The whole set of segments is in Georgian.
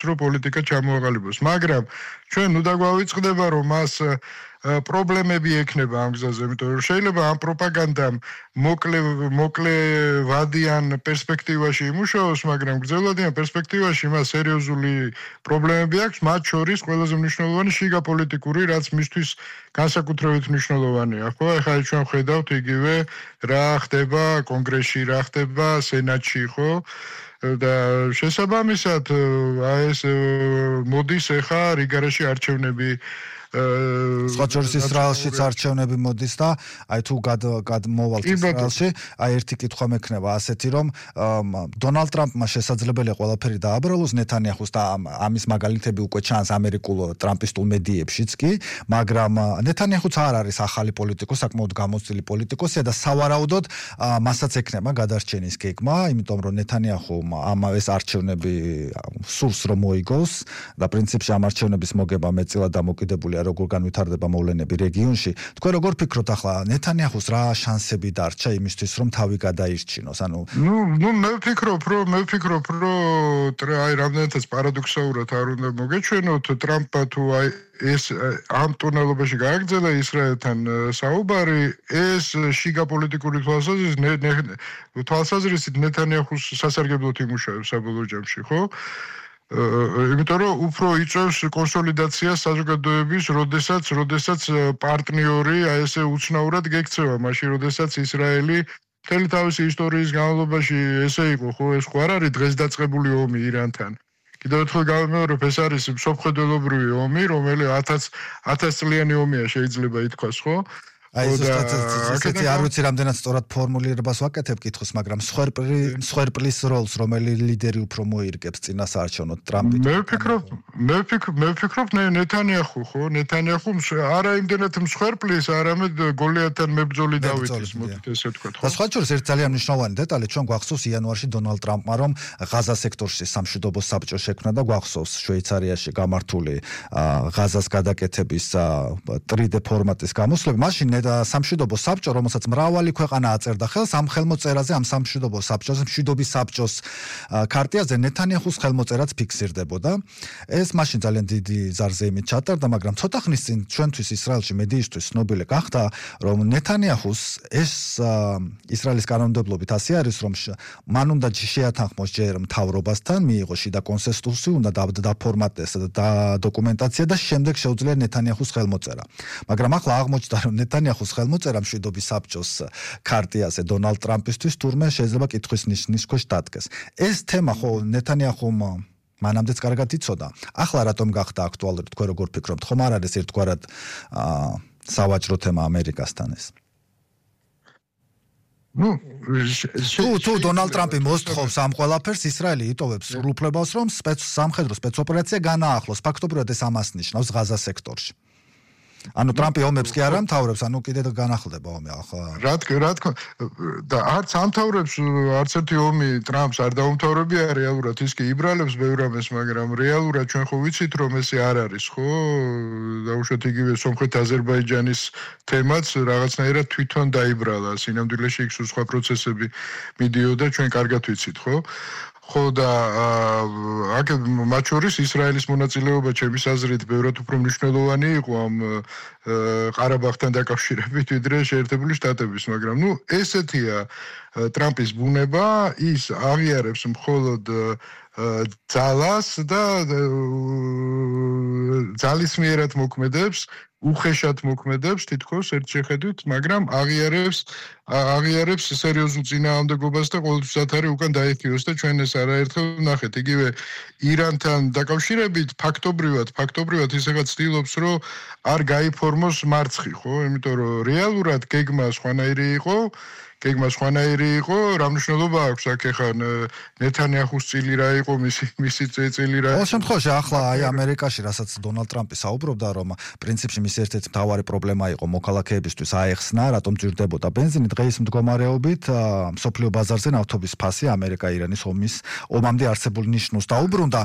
რომ პოლიტიკა ჩამოაყალიბოს. მაგრამ ჩვენ უნდა გვავიწყდება რომ მას პრობლემები ექნება ამ გზაზე, იმიტომ რომ შეიძლება ამ პროპაგანდამ მოკლე ვადიან პერსპექტივაში იმუშაოს, მაგრამ გრძელვადიან პერსპექტივაში მას სერიოზული პრობლემები აქვს, მათ შორის ყველაზე მნიშვნელოვანი შიგა პოლიტიკური, რაც მისთვის განსაკუთრებით მნიშვნელოვანია, ხო? ეხლა ჩვენ ხედავთ იგივე რა ხდება კონგრესში, რა ხდება სენატში, ხო? და შესაბამისად ეს მოდის ეხა რიგარაში არჩევნები სხვა შორის ისრაელშიც არჩევნები მოდის და აი თუ გადმოვალთ ისრაელში, აი ერთი კითხვა მექნება ასეთი რომ დონალდ ტრამპმა შესაძლებელია ყველაფერი დააბრალოს ნეთანიაჰუს და ამის მაგალითები უკვე ჩანს ამერიკულ ტრამპისტულ მედიებშიც კი, მაგრამ ნეთანიაჰუც არ არის ახალი პოლიტიკოსი, საკმაოდ გამოცდილი პოლიტიკოსია და სავარაუდოდ მასაც ექნება გადარჩენის გეგმა, იმიტომ რომ ნეთანიაჰუმ ეს არჩევნები სურს რომ მოიგოს და პრინციპში ამ არჩევნების მოგება მეტწილად დამოკიდებულია როგორ განვითარდება მოვლენები რეგიონში. თქვენ როგორ ფიქრობთ ახლა ნეთანიაჰუს რა შანსები დარჩა იმისთვის რომ თავი გადაირჩინოს? ანუ მე ვფიქრობ რომ აი რამდენადაც პარადოქსალურად არ უნდა მოგეჩვენოთ ტრამპმა თუ აი ეს ამ ტუნელობაში გააგრძელა ისრაელთან საუბარი, ეს შიგა პოლიტიკური თვალსაზრისით ნეთანიაჰუს სასარგებლოდ იმუშავებს საბოლოო ჯამში, ხო? იმიტომ რომ უფრო იწევს კონსოლიდაციას საზოგადოების, როდესაც პარტნიორი აი ესე უცნაურად გექცევა, მაშინ როდესაც ისრაელი მთელი თავისი ისტორიის განმავლობაში ესე იყო, ხო, ეს ხო არ არის დღეს დაწყებული ომი ირანთან. კიდევ ერთხელ გავიმეორებ, ეს არის მსოფლმხედველობრივი ომი, რომელიც 1000 წლიანი ომია შეიძლება ითქვას, ხო? აი ესეთი არ ვიცი რამდენად სწორად ფორმულირებას ვაკეთებ კითხოს, მაგრამ მსხვერპლის როლს რომელი ლიდერი უფრო მოირგებს წინასაარჩევნოდ ტრამპი? მე ვფიქრობ ნეთანიაჰუ, ხო? ნეთანიაჰუ არა იმდენად მსხვერპლის, არამედ გოლიათთან მებრძოლი დავითის, მოდით ესე ვთქვათ, ხო? და სხვა შორის ერთ ძალიან მნიშვნელოვანი დეტალი, ჩვენ გვახსოვს იანვარში დონალდ ტრამპმა რომ ღაზა სექტორში სამშვიდობო საბჭო შექმნა და გვახსოვს შვეიცარიაში გამართული ღაზას გადაკეთების 3D ფორმატის გამოსვლები. მაშინ სამშვიდობო საბჭო, რომელსაც მრავალი ქვეყანა აწერდა ხელს, ამ ხელმოწერაზე, ამ სამშვიდობო საბჭოს, მშვიდობის საბჭოს ქარტიაზე ნეთანიაჰუს ხელმოწერაც ფიქსირდებოდა. ეს მაშინ ძალიან დიდი ზარზეიმით ჩატარდა, მაგრამ ცოტა ხნის წინ ჩვენთვის ისრაელში მედიისთვის ცნობილი გახდა, რომ ნეთანიაჰუს ეს ისრაელის კანონმდებლობით ასე არის, რომ მან უნდა შეათანხმოს ჯერ მთავრობასთან, მიიღო შიდა კონსენსუსი, უნდა დაფორმატდეს დოკუმენტაცია და შემდეგ შეუძლია ნეთანიაჰუს ხელმოწერა. მაგრამ ახლა აღმოჩნდა, რომ ნეთანიაჰუს ხელმოწერა მშვიდობის საბჭოს ქარტიაზე დონალდ ტრამპისთვის თურმე შეიძლება კითხვის ნიშნის ქვეშ დადგეს. ეს თემა ხო ნეთანიაჰუმ მანამდეც კარგად იცოდა. ახლა რატომ გახდა აქტუალური, თქვენ როგორ ფიქრობთ? ხომ არ არის ერთგვარად სავაჭრო თემა ამერიკასთან ეს? თუ დონალდ ტრამპი მოსთხოვს ამ ყველაფერს, ისრაელი იტოვებს სრულ უფლებას, რომ სამხედრო სპეცოპერაცია განაახლოს. ფაქტობრივად ეს ამას ნიშნავს ღაზა სექტორში. ანუ ტრამპი ომებს კი არ ამთავრებს, ანუ კიდევ განახლდება ომი ახლა. რა თქმა და არც ამთავრებს, არც ერთი ომი ტრამპს არ დაუმთავრებია რეალურად, ის კი იბრალებს ბევრ ამას, მაგრამ რეალურად ჩვენ ხო ვიცით რომ ესე არ არის, ხო? დაუშვათ იგივე სომხეთ-აზერბაიჯანის თემაც რაღაცნაირად თვითონ დაიბრალა, სინამდვილეში იქ სხვა პროცესები მიდიოდა, ჩვენ კარგად ვიცით, ხო? ხო და მათ შორის ისრაელის მონაწილეობა ჩემის აზრით ბევრად უფრო მნიშვნელოვანი იყო ამ ყარაბაღთან დაკავშირებით, ვიდრე შეერთებული შტატების, მაგრამ ესეთია ტრამპის ბუნება, ის აღიარებს მხოლოდ ძალას და ძალისმიერად მოქმედებს, უხეშად მოქმედებს თითქოს ერთ შეხედვით, მაგრამ აღიარებს სერიოზულ წინააღმდეგობას და ყოველთვის არის უკან დაიხიოს და ჩვენ ეს არაერთხელ ვნახეთ. იგივე ირანთან დაკავშირებით ფაქტობრივად ის რაღაც ცდილობს, რომ არ გაიფორმოს მარცხი, ხო? იმიტომ რომ რეალურად გეგმა სხვანაირი იყო, რა მნიშვნელობა აქვს აქ ახლა ნეთანიაჰუს წილი რა იყო, მისი წილი რა იყო. ყოველ შემთხვევაში ახლა აი ამერიკაში, რასაც დონალდ ტრამპი საუბრობდა, რომ პრინციპში მისი ერთ-ერთი მთავარი პრობლემა იყო მოქალაქეებისთვის აეხსნა, რატომ ჭირდებოდა ბენზინი, დღეის მდგომარეობით მსოფლიო ბაზარზე ნავთობის ფასი ამერიკა-ირანის ომამდე არსებულ ნიშნულს დაუბრუნდა.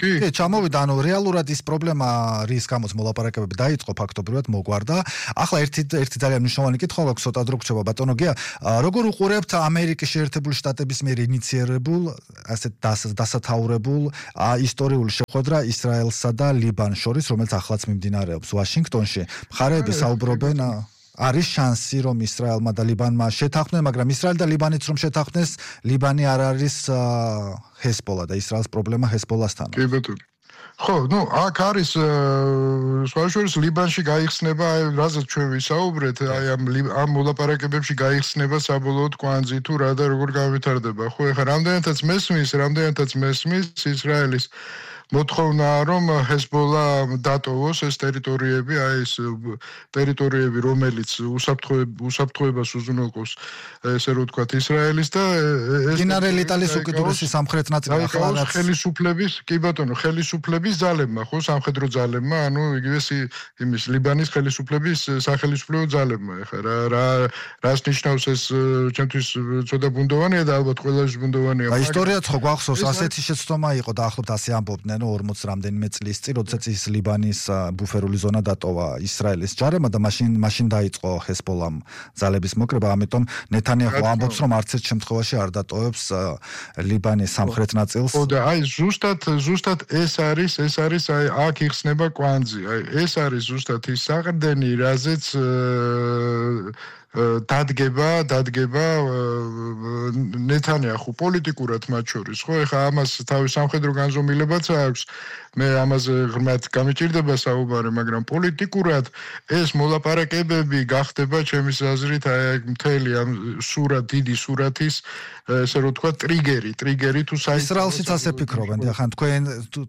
კი, ჩამოვიდა, ანუ რეალურად ის პრობლემა, რის გამოც მოლაპარაკებები დაიწყო, ფაქტობრივად მოგვარდა. ახლა ერთი ძალიან მნიშვნელოვანი კითხვა გვაქვს, ცოტა დრო გრჩება ბატონო გია, როგორ უყურებთ ამერიკის შეერთებული შტატების მიერ ინიციერებულ, ასეთ დასათაურებულ ისტორიულ შეხვედრა ისრაელსა და ლიბანს შორის, რომელიც ახლაც მიმდინარეობს ვაშინგტონში. მხარეები საუბრობენ, არის შანსი, რომ ისრაელმა და ლიბანმა შეთანხმდნენ, მაგრამ ისრაელი და ლიბანიც რომ შეთანხმდეს, ლიბანი არ არის ჰეზბოლა და ისრაელს პრობლემა ჰეზბოლასთან. კი ბატონო. ხო, აქ არის სხვაშორის ლიბანში გაიხსნება, რაზეც ჩვენ ვისაუბრეთ, ამ მოლაპარაკებებში გაიხსნება საბოლოოდ კვანძი თუ რა და როგორ განვითარდება. ხო, ეხლა რამდენადაც მესმის ისრაელის მოთხოვნაა, რომ ჰეზბოლა დატოვოს ეს ტერიტორიები, ეს ტერიტორიები, რომელიც უსაფრთხოებას უზრუნველყოფს, ესე რომ ვთქვათ, ისრაელის და ეს მდინარე ლიტალის უკიდურესი სამხრეთ ნაწილი ახლა რაც ხელისუფლების ძალებმა, ხო, სამხედრო ძალებმა, ანუ იგივე იმის ლიბანის სახელისუფლებო ძალებმა. ეხლა რას ნიშნავს ეს ჩემთვის ცოტა ბუნდოვანია და ალბათ ყველას ბუნდოვანია. ისტორიაც ხო გვახსოვს, ასეთი შეცდომა იყო და ახლობთ ასე ამბობდნენ 40 რამდენიმე წლის წინ, როდესაც ის ლიბანის ბუფერული ზონა დატოვა ისრაელის ჯარებმა და მაშინ დაიწყო ჰეზბოლამ ძალების მოკრება, ამიტომ ნეთანიაჰუ ამბობს, რომ არც ერთ შემთხვევაში არ დატოვებს ლიბანის სამხრეთ ნაწილს. ხო და აი ზუსტად ეს არის აი აქ იხსნება კვანძი. აი ეს არის ზუსტად ის საყრდენი, რაზეც დადგება ნეთანიაჰუ პოლიტიკურად მათ შორის, ხო? ეხლა ამას თავის სამხედრო განზომილებაც აქვს. მე ამაზე ღრმად გამიჭირდება საუბარი, მაგრამ პოლიტიკურად ეს მოლაპარაკებები გახდება ჩემის აზრით აი მთელი ამ დიდი სურათის ესე რომ თქვა ტრიგერი თუ ისრაელშიც ასე ფიქრობენ, ახლა თქვენ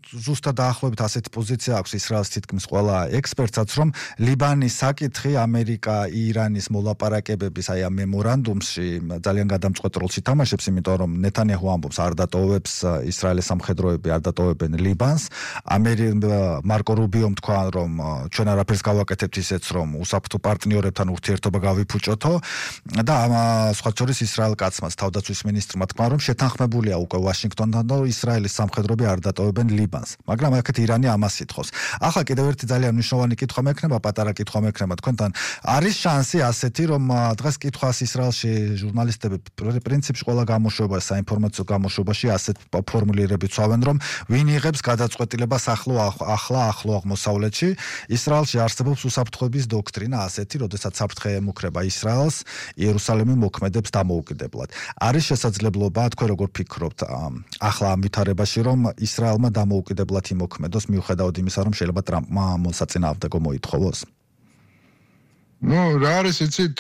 ზუსტად დაახლოებით ასეთი პოზიცია აქვს ისრაელს თითქმის ყველა ექსპერტსაც, რომ ლიბანის საკითხი ამერიკა-ირანის მოლაპარაკებების აი ამ მემორანდუმში ძალიან გადამწყვეტ როლს ითამაშებს, იმიტომ რომ ნეთანიაჰუ ამბობს არ დატოვებს ისრაელის სამხედროები, არ დატოვებენ ლიბანს. მარკო რუბიომ თქვა, რომ ჩვენ არაფერს გავაკეთებთ ისეც, რომ უსაფრთხო პარტნიორებთან ურთიერთობა გავიფუჭოთო და სხვა შორის ისრაელ კაცმაც თავდაცვის მინისტრმა თქვა, რომ შეთანხმებულია უკვე ვაშინგტონთან და ისრაელის სამხედროები არ დატოვებენ ლიბანს. მაგრამ აქეთ ირანი ამას ითხოვს. ახლა კიდევ ერთი ძალიან მნიშვნელოვანი კითხვა მექნება, პატარა კითხვა მექნება თქვენთან. არის შანსი ასეთი, რომ დღეს კითხვას ისრაელში ჟურნალისტები პრინციპში ყველა გამოშვება, საინფორმაციო გამოშვებაში ასეთ ფორმულირებით ცავენ, რომ ვინ იღებს გადაწყვეტილებას ახლა აღმოსავლეთში. ისრაელში არსებობს უსაფრთხოების დოქტრინა ასეთი, როდესაც საფრთხე ემუქრება ისრაელს, იერუსალიმი მოქმედებს დამოუკიდებლად. არის შესაძლებლობა, თქვენ როგორ ფიქრობთ, ახლა ამ ვითარებაში, რომ ისრაელმა დამოუკიდებლად იმოქმედოს, მიუხედავად იმისა, რომ შეიძლება ტრამპმა მოსაწინააღმდეგო მოითხოვოს? რა არის იცით,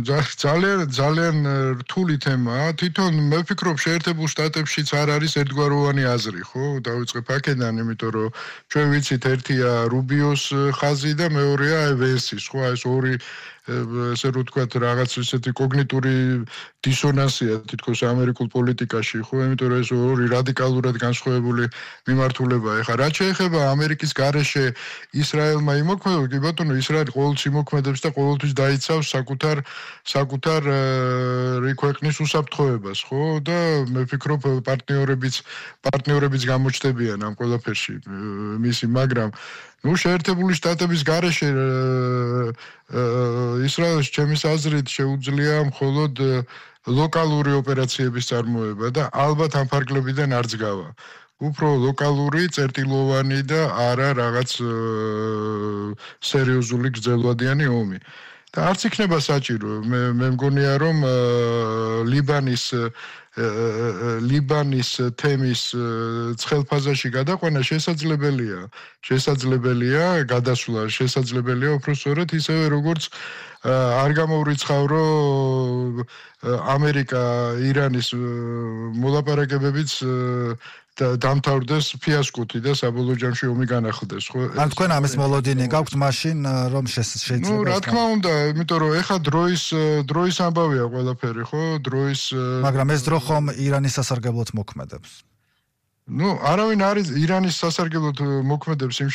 ძალიან რთული თემაა. თვითონ მე ვფიქრობ, შეერთებულ შტატებშიც არ არის ერთგვაროვანი აზრი, ხო? დავიწყებ აქედან, იმიტომ რომ ჩვენ ვიცით, ერთია რუბიოს ხაზი და მეორეა ვენსის, ხო? ეს ორი ესე რომ ვთქვათ, რაღაც ისეთი კოგნიტური დისონანსია თითქოს ამერიკულ პოლიტიკაში, ხო? იმიტომ რომ ეს ორი რადიკალურად განსხვავებული მიმართულებაა. ეხლა რაც შეეხება ამერიკის გარეშე ისრაელმა იმოქმედება, კი ბატონო, ისრაელი ყოველთვის იმოქმედებს და ყოველთვის დაიცავს საკუთარ ქვეყნის უსაფრთხოებას, ხო? და მე ვფიქრობ, პარტნიორებიც გამოჩნდებიან ამ ყველაფერში მისი, მაგრამ შეერთებული შტატების გარეშე ისრაელს ჩემის აზრით შეუძლია მხოლოდ ლოკალური ოპერაციების წარმოება და ალბათ ამ ფარგლებიდან არ ძგავა. უფრო ლოკალური, წერტილოვანი და არა რაღაც სერიოზული გრძელვადიანი ომი. და არც იქნება საჭირო. მე მგონია, რომ ლიბანის თემის ცხელფაზაში გადაყვანა შესაძლებელია გადასვლა, შესაძლებელია უბრალოდ ისევე როგორც არ გამოვრიცხავრო ამერიკა ირანის მოლაპარაკებებიც დამთავრდეს ფიასკოთი და საბოლოო ჯამში ომი განახლდეს, ხო? ან თქვენ ამის მოლოდინი გაქვთ მაშინ, რომ შეიძლება რა თქმა უნდა, იმიტომ რომ ეხა დროის ამბავია ყველაფერი, ხო? მაგრამ ეს დრო ხომ ირანის სასარგებლოდ მოქმედებს. Ну, არავინ არის ირანის სასარგებლოდ მოქმედებს იმ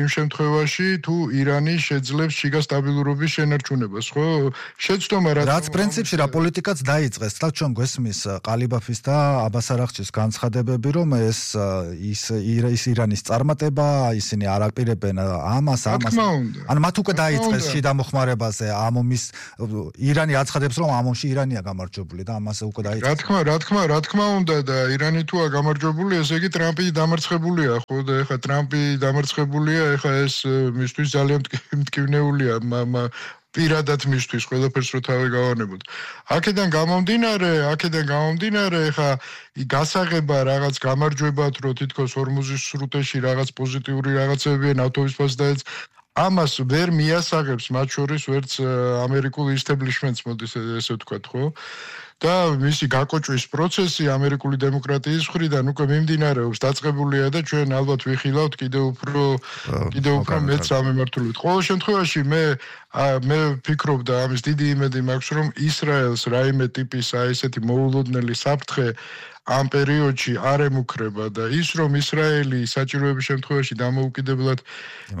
შემთხვევაში, თუ ირანი შეძლებს შიგა სტაბილურობის შენარჩუნებას, ხო? შეცდომა რაც პრინციპში რა პოლიტიკაც დაიწყეს, თქო ჩვენ გვესმის ყალიბაფის და აბას არაღჩის განცხადებები, რომ ეს ირანის წარმატება, ისინი არ აპირებენ ამას. ანუ მათ უკვე დაიწყეს შიდა მოხმარებაზე ამ ომის ირანი აცხადებს, რომ ამ ომში ირანია გამარჯვებული და ამაზე უკვე დაიწყეს. რა თქმა უნდა და ირანი თუა გამარჯვებული, ესე იგი ტრამპი დამარცხებულია, ხო და ეხა ტრამპი დამარცხებულია, ეხა ეს მისთვის ძალიან მტკივნეულია, პირადად მისთვის ყველაფერს რო თავი გავანებოთ. აქედან გამომდინარე, ეხა გასაღება რაღაც გამარჯვებათ, რო თითქოს ორმუზის სრუტეში რაღაც პოზიტიური რაღაცებია ნავთობის ფასადაც ამას ვერ მიასაღებს მათ შორის ვერც ამერიკულ ისტებლიშმენტს მოდის ესე ვთქვათ, ხო? და მისი გაკოჭვის პროცესი ამერიკული დემოკრატიის მხრიდან უკვე მიმდინარეობს, დაწყებულია და ჩვენ ალბათ ვიხილავთ კიდევ უფრო მეც სამემართულებით. ყოველ შემთხვევაში მე ვფიქრობ და ამის დიდი იმედი მაქვს, რომ ისრაელს რაიმე ტიპის ესეთი მოულოდნელი საფრთხე ამ პერიოდში არ ემუქრება და ის რომ ისრაელი საჭიროების შემთხვევაში დამოუკიდებლად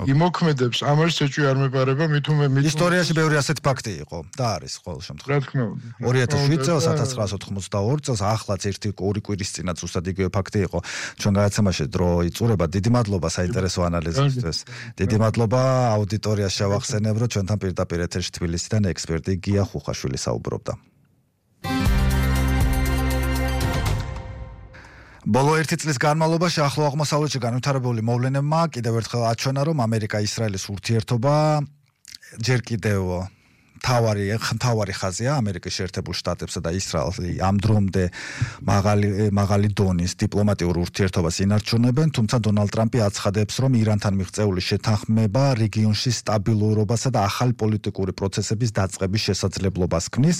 იმოქმედებს, ამას ეჭვი არ მეპარება, მithume ისტორიაში ბევრი ასეთი ფაქტი იყო და არის ყოველ შემთხვევაში. რა თქმა უნდა. 2007 წელს, 1982 წელს, ახლაც ორი კვირის წინაც უბრალოდ იგივე ფაქტი იყო. ჩვენ გადაცემაში დრო იწურება. დიდი მადლობა საინტერესო ანალიზისთვის. დიდი მადლობა აუდიტორიას შევახსენებ, რომ ჩვენთან პირდაპირ ეთერში თბილისიდან ექსპერტი გია ხუხაშვილი საუბრობდა. ბოლო 1 წლის განმავლობაში ახლო აღმოსავლეთში განვითარებული მოვლენებმა კიდევ ერთხელ აჩვენა, რომ ამერიკა-ისრაელის ურთიერთობა ჯერ კიდევ თავარი ხაზია ამერიკის შეერთებულ შტატებსა და ისრაელს ამ დრომდე მაღალი დონის დიპლომატიურ ურთიერთობას ინარჩუნებენ, თუმცა დონალდ ტრამპი აცხადებს, რომ ირანთან მიღწეული შეთანხმება რეგიონში სტაბილურობასა და ახალი პოლიტიკური პროცესების დაწყების შესაძლებლობას ქმნის.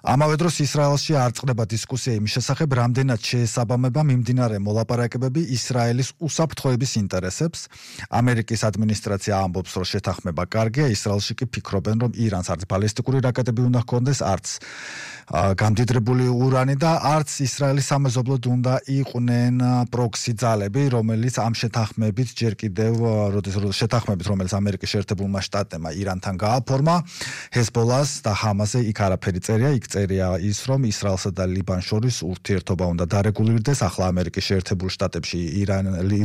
ამავე დროს ისრაელში არ წყდება დისკუსია იმის შესახებ, რამდენად შეესაბამება მიმდინარე მოლაპარაკებები ისრაელის უსაფრთხოების ინტერესებს. ამერიკის ადმინისტრაცია ამბობს, რომ შეთანხმება კარგია, ისრაელში კი ფიქრობენ, რომ ირანს არც ბალისტიკური რაკეტები უნდა ჰქონდეს, არც გამდიდრებული ურანი და არც ისრაელის სამეზობლოდ უნდა იყვნენ პროქსი ძალები, რომელიც ამ შეთანხმებით ჯერ კიდევ შეთანხმებით, რომელიც ამერიკის შეერთებულმა შტატებმა ირანთან გააფორმა, ჰეზბოლას და ჰამასზე იქ არაფერი წერია, იქ წერია ის, რომ ისრაელსა და ლიბანს შორის ურთიერთობა უნდა დარეგულირდეს. ახლა ამერიკის შეერთებულ შტატებში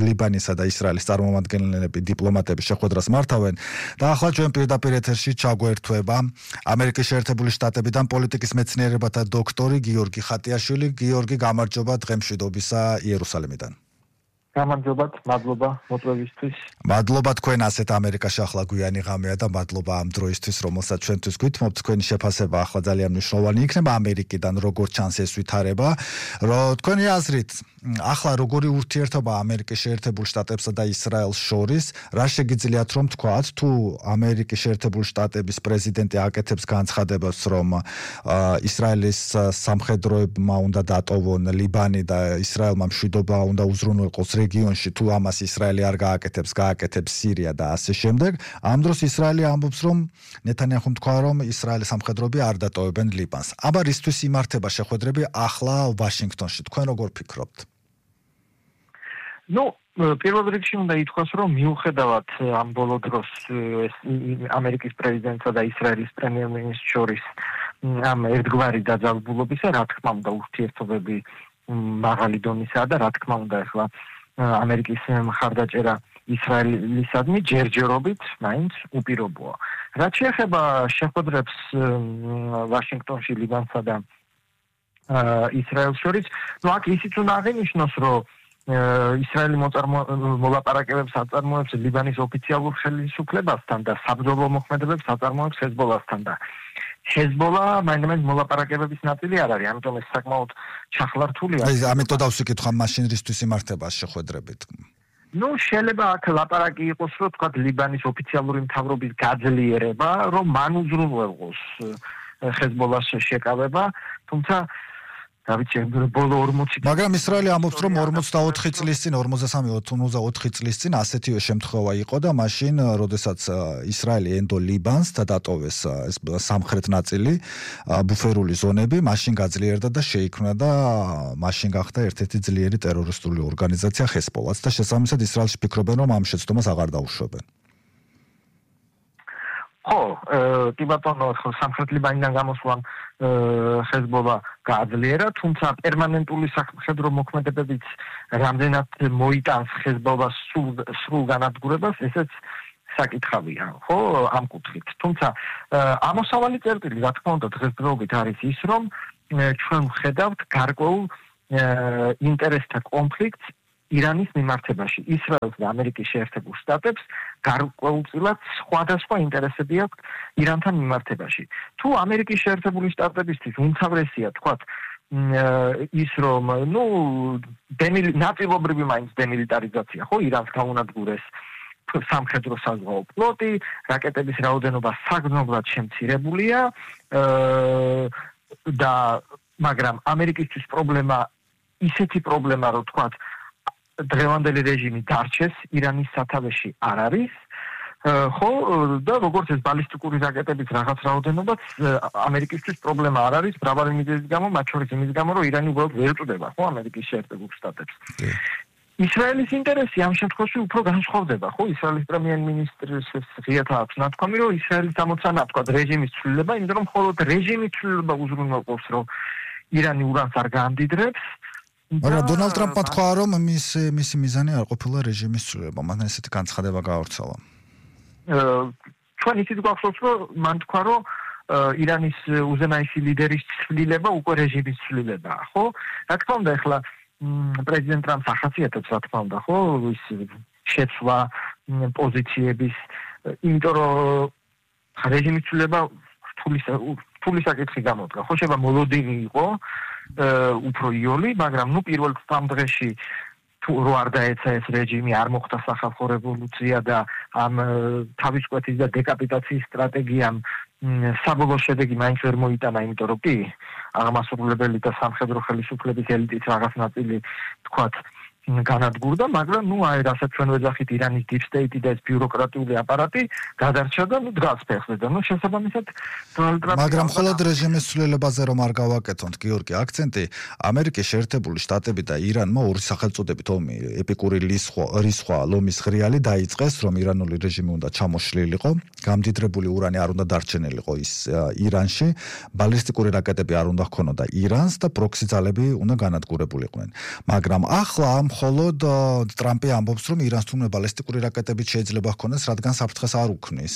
ლიბანისა და ისრაელის წარმომადგენლები, დიპლომატები შეხვედრას მართავენ და ახლა ჩვენ პირდაპირ ეთერში ჩაგვერთვება ამერიკის შეერთებული შტატებიდან პოლიტიკის მეცნიერებათა დოქტორი გიორგი ხატიაშვილი. გიორგი, გამარჯობა დღემშვიდობისა იერუსალიმიდან. გამარჯობათ, მადლობა მოწვევისთვის. მადლობა თქვენ ასეთ ამერიკაში ახლა გვიანი ღამეა და მადლობა ამ დროისთვის, რომელსაც ჩვენთვის გვითმობთ. თქვენი შეფასება ახლა ძალიან მნიშვნელოვანი იქნება ამერიკიდან, როგორც ჩანს ეს ვითარება, რომ თქვენი აზრით ახლა როგორი ურთიერთობა ამერიკის შეერთებულ შტატებსა და ისრაელს შორის, რა შეგიძლიათ რომ თქვათ, თუ ამერიკის შეერთებული შტატების პრეზიდენტი აკეთებს განცხადებას, რომ ისრაელის სამხედროებმა უნდა დატოვონ ლიბანი და ისრაელმა მშვიდობა უნდა უზრუნველყოს რეგიონში, თუ ამას ისრაელი არ გააკეთებს, გააკეთებს სირია და ასე შემდეგ. ამ დროს ისრაელი ამბობს, რომ ნეთანიაჰუმ თქვა, რომ ისრაელის სამხედროები არ დატოვებენ ლიბანს. აბა რისთვის იმართება შეხვედრები ახლა ვაშინგტონში? თქვენ როგორ ფიქრობთ? Ну, პირველ რიგში უნდა ითქვას, რომ მიუხედავად ამ ბოლო დროს ამერიკის პრეზიდენტსა და ისრაელის პრემიერ-მინისტრს შორის ამ ერთგვარი დაძაბულობისა, რა თქმა უნდა, ურთიერთობები მაღალი დონისაა და რა თქმა უნდა, ახლა ამერიკის მხარდაჭერა ისრაელისადმი ჯერჯერობით მაინც უპირობოა. რაც შეეხება შეხვედრებს ვაშინგტონში ლიბანსა და ისრაელს შორის, ну აქ ისიც უნდა აღინიშნოს, რომ ისრაელი მოლაპარაკებებს აწარმოებს ლიბანის ოფიციალურ ხელისუფლებასთან და საბრძოლო მოქმედებებს აწარმოებს ჰეზბოლასთან და ჰეზბოლა მაინც მოლაპარაკებების ნაწილი არ არის, ამიტომ ეს საკმაოდ ჩახლართულია. ამიტომ დავსიკითხავ, მაშინ რისთვის იმართება შეხვედრებით? Ну, შეიძლება აქ ლაპარაკი იყოს, რომ თქვა ლიბანის ოფიციალური მთავრობის გაძლიერება, რომ მან უზრუნველყოს ჰეზბოლას შეკავება, თუმცა ბოლო 40 მაგრამ ისრაელი ამბობს რომ 44 წლის წინ 43-54 წლის წინ ასეთივე შემთხვევა იყო და მაშინ როდესაც ისრაელი ენდო ლიბანს და დატოვეს ეს სამხრეთ ნაწილი ბუფერული ზონები მაშინ გაძლიერდა და შეიქმნა და მაშინ გახდა ერთ-ერთი ძლიერი ტერორისტული ორგანიზაცია ჰესბოლაც და შესაბამისად ისრაელში ფიქრობენ რომ ამ შეცდომას აღარ დაუშვებენ ხო, კი ბატონო, სამხრეთ ლიბანიდან გამოსვლამ ჰეზბოლა გააძლიერა, თუმცა პერმანენტული სამხედრო მოქმედებებიც რამდენად მოიტანს ჰეზბოლას სრულ განადგურებას, ესეც საკითხავია, ხო, ამ კუთხით. თუმცა ამოსავალი წერტილი, რა თქმა უნდა, დღესდღეობით არის ის, რომ ჩვენ ვხედავთ გარკვეულ ინტერესთა კონფლიქტს ირანის მიმართებაში. ისრაელს და ამერიკის შეერთებულ შტატებს გარკვეულწილად სხვადასხვა ინტერესები აქვს ირანთან მიმართებაში. თუ ამერიკის შეერთებული შტატებისთვის უმთავრესია, თქვათ, ის რომ, ნაწილობრივი მაინც დემილიტარიზაცია, ხო, ირანს გაუნადგურეს სამხედრო საზღვაო ფლოტი, რაკეტების რაოდენობა საგრძნობლად შემცირებულია და მაგრამ ამერიკისთვის ისეთი პრობლემა, რომ თქვათ დღევანდელი რეჟიმი დარჩეს ირანის სათავეში არ არის ხო და როგორც ეს ბალისტიკური რაკეტების რაღაც რაოდენობაც ამერიკისთვის პრობლემა არ არის მრავალი მიზეზის გამო მათ შორის იმის გამო რომ ირანი უბრალოდ ვერ წვდება ხო ამერიკის შეერთებულ შტატებს ისრაელის ინტერესი ამ შემთხვევაში უფრო განსხვავდება ხო ისრაელის პრემიერ-მინისტრის ღიათა აქვს ნათქვამი რომ ისრაელის ამოცანა თქვა რეჟიმის ცვლილება იმიტომ რომ მხოლოდ რეჟიმის ცვლილება უზრუნველყოფს რომ ირანი ურანს არ გაამდიდრებს მაგრამ დონალდ ტრამპმა თქვა რომ მისი მიზანი არ ყოფილა რეჟიმის ცვლილება, მან ესეთი განცხადება გაავრცელა. ჩვენ ისიც გვახსოვს რომ მან თქვა რომ ირანის უზენაესი ლიდერის ცვლილება უკვე რეჟიმის ცვლილებაა, ხო? რა თქმა უნდა, ახლა პრეზიდენტ ტრამპს ახასიათებს, რა თქმა უნდა, ხო, ის შეცვლა პოზიციების, იმიტომ რომ რეჟიმის ცვლილება რთული საკითხი გამოდგა. ხო, შეიძლება მოლოდინი იყო უფრო იოლი, მაგრამ პირველ დღეში თუ რო არ დაეცა ეს რეჟიმი, არ მოხდა სახალხო რევოლუცია და ამ თავისკვეთის და დეკაპიტაციის სტრატეგიამ საბოლოო შედეგი მაინც ვერ მოიტანა, იმიტომ რომ კი აღმასრულებელი და სამხედრო ხელისუფლების ელიტის რაღაც ნაწილი თქვათ განადგურდა, მაგრამ რასაც ჩვენ ვეძახით ირანის deep state და ეს ბიუროკრატიული აპარატი გადარჩა და დგას ფეხზე და შესაბამისად დონალდ ტრამპი მაგრამ მხოლოდ რეჟიმის ცვლილებაზე რომ არ გავაკეთოთ, გიორგი, აქცენტი ამერიკის შეერთებული შტატები და ირანმა ორი სახელწოდებით ომი, ეპიკური რისხვა, ლომის ღრიალი დაიწყეს, რომ ირანული რეჟიმი უნდა ჩამოშლილიყო, გამდიდრებული ურანი არ უნდა დარჩენილიყო ის ირანში, ბალისტიკური რაკეტები არ უნდა ჰქონოდა ირანს და პროქსი ძალები უნდა განადგურებულიყვნენ. მაგრამ ახლა მხოლოდ ტრამპი ამბობს, რომ ირანს თუმცა ბალისტიკური რაკეტები შეიძლება ჰქონდეს, რადგან საფრთხეს არ უქმნის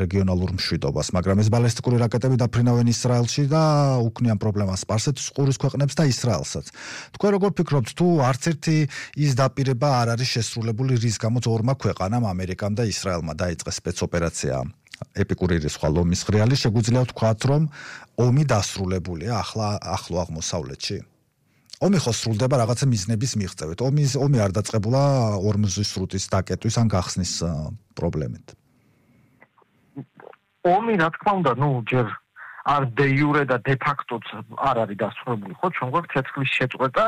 რეგიონალურ მშვიდობას, მაგრამ ეს ბალისტიკური რაკეტები დაფრინავენ ისრაელში და უქმნიან პრობლემას სპარსეთის ყურის ქვეყნებს და ისრაელსაც. თქვენ როგორ ფიქრობთ, თუ არც ერთი ის დაპირება არ არის შესრულებული, რის გამოც ორმა ქვეყანამ, ამერიკამ და ისრაელმა დაიწყეს სპეცოპერაცია ეპიკური რისხვა, ლომის ღრიალი, შეგვიძლია ვთქვათ, რომ ომი დასრულებულია ახლო აღმოსავლეთში? ომი ხო სრულდება რაღაცა მიზნების მიღწევით. ომი არ დაწყებულა ორმზის სრუტის დაკეტვის ან გახსნის პრობლემით. ომი რა თქმა უნდა, ჯერ არ დე იურე და დე ფაქტოც არ არის დასრულებული, ხო? ჩვენ გვაქვს ცეცხლის შეწყვეტა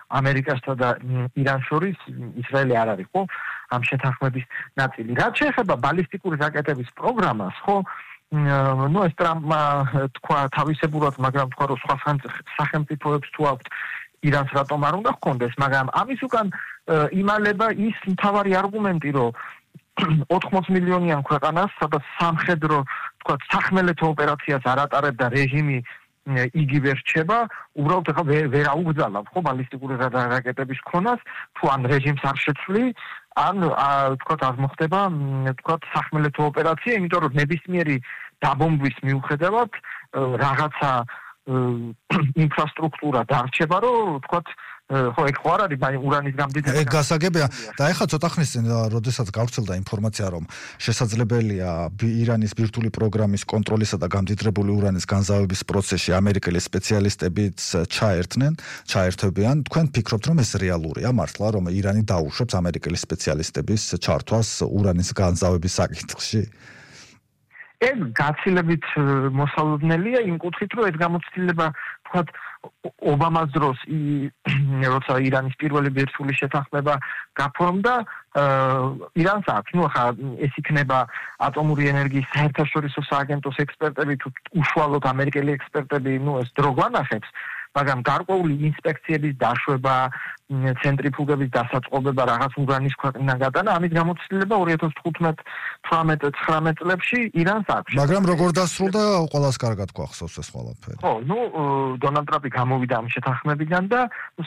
ამერიკასა და ირანს შორის, ისრაელი არ არის, ხო? ამ შეთანხმების ნაწილი. რაც შეეხება ბალისტიკური რაკეტების პროგრამას, ხო? ეს ტრამპმა თქვა თავისებურად, მაგრამ თქვა რომ სხვა სახელმწიფოებს თუ აქვთ ირანს რატომ არ უნდა ჰქონდეს, მაგრამ ამის უკან იმალება ის მთავარი არგუმენტი, რომ 80 მილიონიან ქვეყანას, სადაც სამხედრო, თქვა, სახმელეთო ოპერაციას არ ატარებდა რეჟიმი იგივე რჩება, უბრალოდ ახლა ვერ აუგზავნავ, ხო, ბალისტიკური რაკეტების ქონას, თუ ან რეჟიმს არ შეცვლი, ან თქვა, არ მოხდება, თქვა, სახმელეთო ოპერაცია, იმიტომ რომ ნებისმიერი დაბომბვის მიუხედავად რაღაცა ინფრასტრუქტურა დარჩება, რომ თქვათ, ხო, ეგ ხო არ არის ურანის გამდიდრება. ეგ გასაგებია და ეხლა ცოტა ხნის წინ, როდესაც გავრცელდა ინფორმაცია, რომ შესაძლებელია ირანის ბირთვული პროგრამის კონტროლისა და გამდიდრებული ურანის განზავების პროცესში ამერიკელი სპეციალისტებიც ჩაერთვებიან, თქვენ ფიქრობთ, რომ ეს რეალურია მართლა, რომ ირანი დაუშვებს ამერიკელი სპეციალისტების ჩართვას ურანის განზავების საკითხში? ეს გაცილებით მოსალოდნელია იმ კუთხით, რომ ეს გამოცდილება, თქვათ, ობამას დროს როცა ირანის პირველი ბირთვული შეთანხმება გაფორმდა ირანს აქვს ახლა ეს იქნება ატომური ენერგიის საერთაშორისო სააგენტოს ექსპერტები თუ უშუალოდ ამერიკელი ექსპერტები ეს დრო გვანახებს მაგრამ გარკვეული ინსპექციების დაშვება ცენტრიფუგების დასაწყობება რაღაც ურანის ქვეყნიდან გადანა ამით გამოცდილება 2015-18-19 წლებში ირანს აქვს მაგრამ როგორ დასრულდა ყველას კარგად გვახსოვს ეს ყველაფერი ხო დონალდ ტრამპი გამოვიდა ამ შეთანხმებიდან და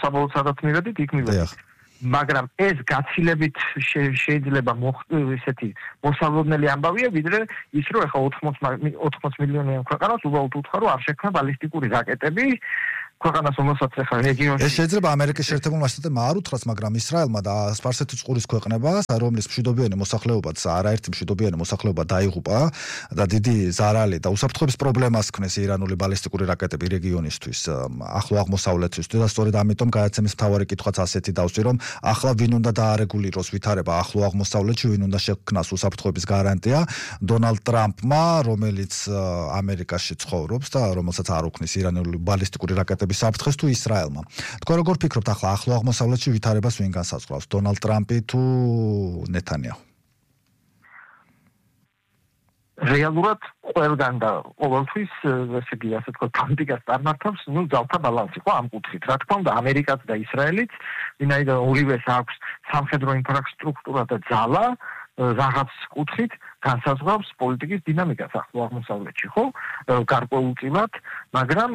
საბოლოო სადაც მივედით იქ მივედით მაგრამ ეს გაცილებით შეიძლება ესეთი მოსალოდნელი ამბავია ვიდრე ის რომ ეხა 80 მილიონიან ქვეყანას უბრალოდ უთხრა რომ არ შექმნა ბალისტიკური რაკეტები ქვეყანას რომელსაც ეხა რეგიონში ეს შეიძლება ამერიკის შეერთებულმა შტატებმა არ უთხრას მაგრამ ისრაელმა და სპარსეთის ყურის ქვეყნებას რომლის მშვიდობიანი მოსახლეობაც არაერთი მშვიდობიანი მოსახლეობა დაიღუპა და დიდი ზარალი და უსაფრთხოების პრობლემას ქმნეს ირანული ბალისტიკური რაკეტები რეგიონისთვის ახლო აღმოსავლეთისთვის და სწორედ ამიტომ გადაცემის მთავარი კითხვაც ასეთი დავსვი რომ ახლა ვინ უნდა დაარეგულიროს ვითარება ახლო აღმოსავლეთში ვინ უნდა შექმნას უსაფრთხოების გარანტია დონალდ ტრამპმა რომელიც ამერიკაში ცხოვრობს და რომელსაც არ უქმნის ირანული ბალისტიკური რაკეტები საფრთხეს თუ ისრაელმა. თქვენ როგორ ფიქრობთ ახლა ახლო აღმოსავლეთში ვითარებას ვინ განსაზღვრავს? დონალდ ტრამპი თუ ნეთანიაჰუ? რეალურად ყველგან და ყოველთვის ესე იგი ასე თქვა პოლიტიკას წარმართავს ძალთა ბალანსი ხო ამ კუთხით. რა თქმა უნდა ამერიკაც და ისრაელიც ვინაიდან ორივეს აქვს სამხედრო ინფრასტრუქტურა და ძალა რაღაც კუთხით განსაზღვრავს პოლიტიკის დინამიკას ახლო აღმოსავლეთში, ხო? გარკვეულწილად, მაგრამ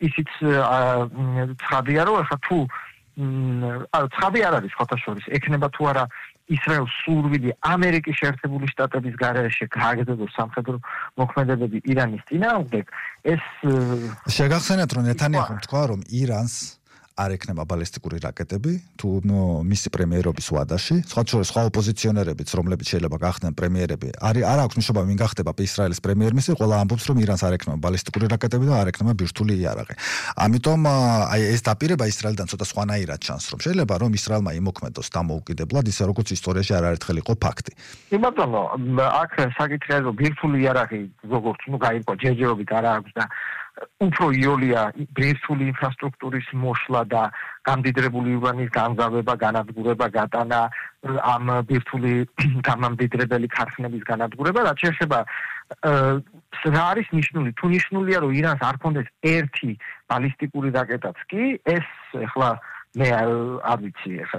ისიც ცხადია, რომ ახლა თუ ცხადი არ არის ხოთაშორის, ექნება თუ არა ისრაელს სურვილი ამერიკის შეერთებული შტატების გარეშე გააგრძელოს სამხედრო მოქმედებები ირანის წინააღმდეგ, ეს შეგახსენეთ რომ ნეთანიაჰუმ თქვა რომ ირანს არ ექნება ბალისტიკური რაკეტები თუ მისი პრემიერობის ვადაში სხვა ოპოზიციონერებიც რომლებიც შეიძლება გახდნენ პრემიერები არ აქვს მნიშვნელობა ვინ გახდება ისრაელის პრემიერ-მინისტრი ყველა ამბობს რომ ირანს არ ექნება ბალისტიკური რაკეტები და არ ექნება ბირთვული იარაღი ამიტომ აი ეს დაპირება ისრაელთან ცოტა სხვანაირად ჩანს რომ შეიძლება რომ ისრაელმა იმოქმედოს დამოუკიდებლად ისე როგორც ისტორიაში არაერთხელ იყო ფაქტი ბატონო აქ საკითხია რომ ბირთვული იარაღი როგორც გაირკვა ჯერჯერობით არ აქვს და უფრო იოლია ბირთვული ინფრასტრუქტურის მოშლა და გამდიდრებული ურანის განზავება, განადგურება, გატანა ამ ბირთვული გამამდიდრებელი ქარხნების განადგურება, რაც შეეხება რა არის ნიშნული? თუ ნიშნულია რომ ირანს არ ქონდეს ერთი ბალისტიკური რაკეტაც კი, ეს ახლა მე არ ვიცი ახლა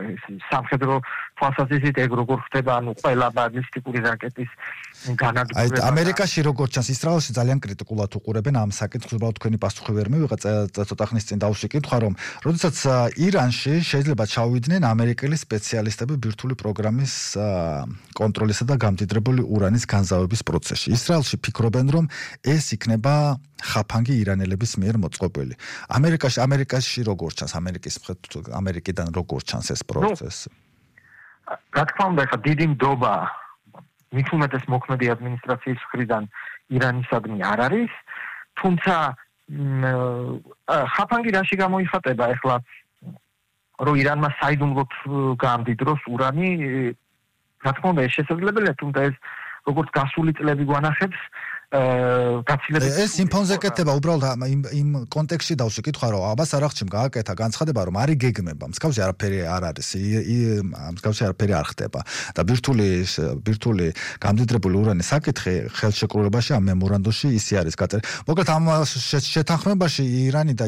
სამხედრო თვალსაზრისით ეგ როგორ ხდება ანუ ყველა ბალისტიკური რაკეტის განადგურება აი ამერიკაში როგორ ჩანს ისრაელში ძალიან კრიტიკულად უყურებენ ამ საკითხს უბრალოდ თქვენი პასუხი ვერ მივიღეთ ცოტა ხნის წინ დავშეკითხა რომ როდესაც ირანში შეიძლება ჩავიდნენ ამერიკელი სპეციალისტები ბირთვული პროგრამის კონტროლისა და გამდიდრებული ურანის განზავების პროცესში ისრაელში ფიქრობენ რომ ეს იქნება ხაფანგი ირანელების მიერ მოწყობილი ამერიკაში როგორ ჩანს ამერიკიდან როგორ ჩანს ეს პროცესი რა თქმა უნდა ხა დიდი ნდობა მით უმეტეს მოქმედი ადმინისტრაციის მხრიდან ირანისადმი არ არის თუმცა ხაფანგი რაში გამოიხატება ახლა რომ ირანმა საიდუმლოდ გამდიდროს ურანი რა თქმა უნდა ეს შესაძლებელია თუმცა ეს როგორც გასული წლები გვანახებს ეს იმფონზე კეთება უბრალოდ იმ კონტექსტში დავშეკითხა რომ აბას არახჩიმ გააკეთა განცხადება რომ არის გეგმება მსგავსი არაფერი არ არის მსგავსი არაფერი არ ხდება და ბირთვული გამდიდრებული ურანის საკითხი ხელშეკრულებაში ამ მემორანდუმში ისე არის გაწერილი მოკლედ ამ შეთანხმებაში ირანი და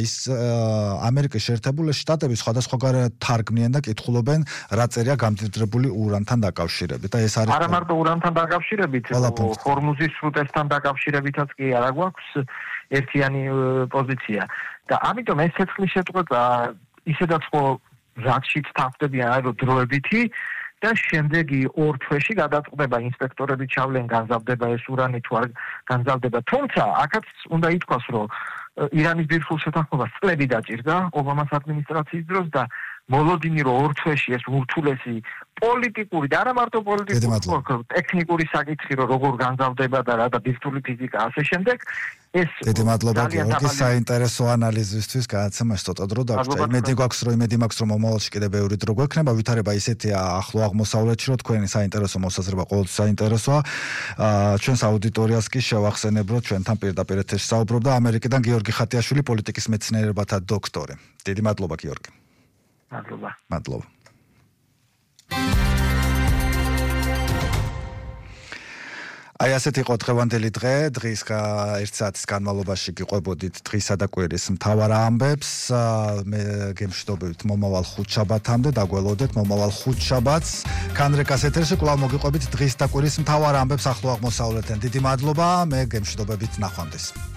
ამერიკის შეერთებული შტატები სხვადასხვაგვარად თარგმნიან და კითხულობენ რა წერია გამდიდრებული ურანთან დაკავშირებით და ეს არის არა მარტო ურანთან დაკავშირებით ჰორმუზის სრუტესთან შირებითაც კი არ აქვს ერთიანი პოზიცია და ამიტომ ეს ცეცხლის შეწყვეტა ისედაც ხო რაშიც თავდებიან აი რომ დროებითი და შემდეგი 2 თვეში გადაწყდება ინსპექტორები ჩავლენ განზავდება ეს ურანი თუ არ განზავდება თუმცა აქაც უნდა ითქვას რომ ირანის ბირთვულ შეთანხმებას წლები დაჭირდა ობამას ადმინისტრაციის დროს და მოლოდინი რომ ორ თვეში ეს ურთულესი პოლიტიკური და არა მარტო პოლიტიკური, ტექნიკური საკითხი რომ როგორ განზავდება და რა და ბირთვული ფიზიკა ასე შემდეგ ეს დიდი მადლობა გიორგი საინტერესო ანალიზისთვის გადაცემაში ცოტა დრო დაგვჭირდა. იმედი მაქვს რომ მომავალში კიდევ ბევრი დრო გვექნება. ვითარება ისეთია ახლო აღმოსავლეთში რომ თქვენი საინტერესო მოსაზრება ყოველთვის საინტერესოა. ჩვენს აუდიტორიას კი შევახსენებ რომ ჩვენთან პირდაპირ ეთერში საუბრობდა ამერიკიდან გიორგი ხატიაშვილი პოლიტიკის მეცნიერებათა დოქტორი. დიდი მადლობა გიორგი. მადლობა. აი ასეთი იყო დღევანდელი დღე. დღის 1 საათის განმავლობაში გიყვებოდით დღისა და კვირის მთავარ ამბებს. მე გემშვიდობებით მომავალ ხუთშაბათამდე, დაგველოდეთ მომავალ ხუთშაბათს. კანრეკას ეთერში კვლავ მოგიყვებით დღის და კვირის მთავარ ამბებს ახლო აღმოსავლეთიდან. დიდი მადლობა, მე გემშვიდობებით ნახვამდის.